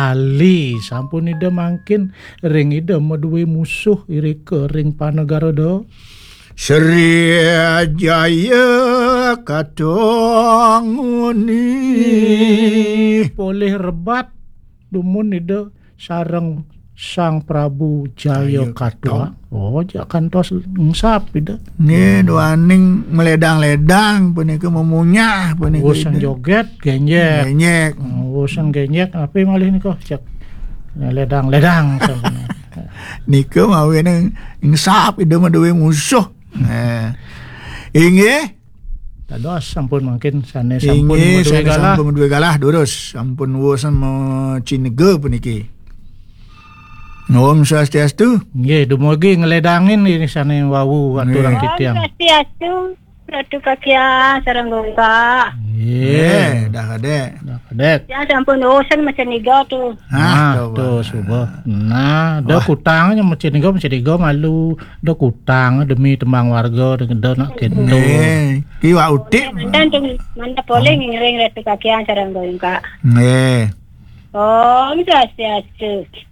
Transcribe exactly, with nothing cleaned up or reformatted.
Bali. Sampun Ida mangkin ring Ida madué musuh irika ring Panagara Da. Sri Jaya Katong Uni. Polih rebat dumun Ida sareng Sang Prabu Jaya Jaya Katwa. Katong. Oh, jak kantos engsap Ida. Nggih, duaning meledang-ledang punika, memunyah punika Usan Ida. Joget, genjek. Genjek. Usan genjek, apa malih nika? Cek ledang-ledang sampun. Nika mawinan engsap Ida madué musuh. Nah. Inggih. Dados sampun mangkin sané sampun Inggih, madué sané galah. Sampun madué galah, durus. Sampun wus macinega puniki. Om Swastiastu. Nggih, dumugi ngledangin ini sané wau aturang Nggih. Om titiang. Swastiastu, Ratu Kakiang, sareng Gungkak. Nggih. Nggih, dah kadek. Dah kadek. Ya sampun usen maceniga tuh. Ah, nah, tuh, tuh, suba. Nah, da wah. Kutangnya maceniga, maceniga malu. Da kutang demi tembang warga, da, da nak kento. Nggih. Ki Wak Utik. Mantan tuh, mana polling ngiring Ratu Kakiang, sareng Gungkak. Nggih. Om Swastiastu.